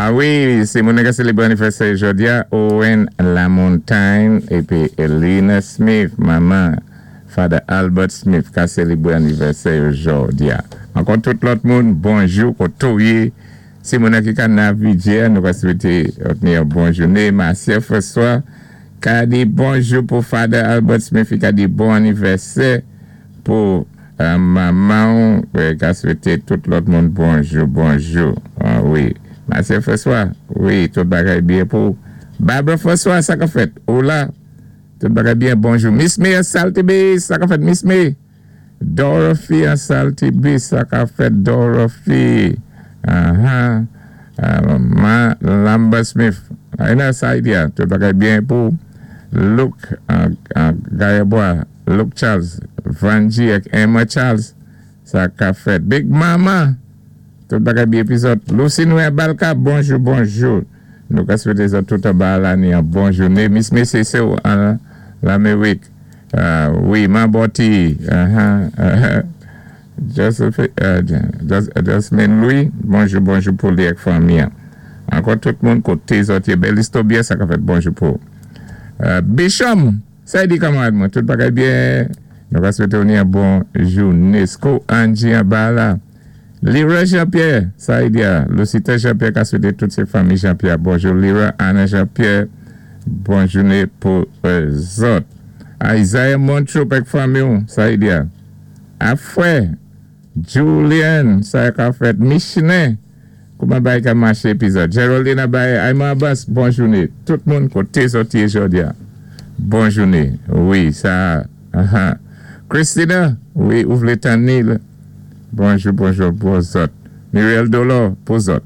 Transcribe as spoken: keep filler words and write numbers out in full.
Ah wi, sé moun ki sélébwé anivèsè jòdi-a, Owen Lamontagne épi Elena Smith, manman Father Albert Smith, ka sélébwé anivèsè jòdi-a. Ankò tout lòt moun, bonjou, koto'w yé. Si moun ki ka navigé, nou ka swété yon bon jouné. Marcia François, ka di bonjou pou Father Albert Smith, ka di bon anivèsè pou euh, manman, ka swété tout lòt moun bonjou, bonjou. Ah wi. Marcia François, wi, tout bagay byen pou Barbara François, sa ka fèt. Ou la, tout bagay byen, bonjou. Miss May Saltibi, sa ka fèt, Miss May. Dorothy Saltibi, sa ka fèt, Dorothy. Uh-huh. Uh, Ma Lambert Smith. Aina Saidia, tout bagay byen pou Luke uh, uh, Gayebois, Luke Charles, Vanji ak Emma Charles, sa ka fèt. Big Mama, tout bagay byen épizòd. Lucy Noé Balka, bonjou, bonjou. Nou ka swété zòt tout ba la ni yon bon jouné. Miss Messese an Laméwik. Uh, wi, Maboti. Uh-huh, uh-huh. Joseph, uh, Jasmine Louis, bonjou, bonjou pou li ak fanmi. Ankò tout moun koté zòt yé. Bel Istobia, sa ka fèt, bonjou pou. Uh, Bishop, sa di kanmarad mwen, tout bagay byen. Nou ka swété yon bon jouné. Sko Angie an la. Lira Jean-Pierre, sa di Lucita Jean-Pierre ka swété tout sé fanmi Jean-Pierre. Bonjou Lira, Anna Jean-Pierre, bon jouné pou zòt. Isaiah Montreux ak fanmi, sa di Afrè, Julian, sa ka fèt Michelin. Kouman bay ka maché épizòd? Geraldine Abaye, Ayman Abbas, bon jouné. Tout moun koté zòt yé jòdi-a. Bon jouné. Wi, sa. Uh-huh. Christina, wi, ou vlé tann. Bonjou, bonjou pou zòt. Muriel Dolor, pou zòt.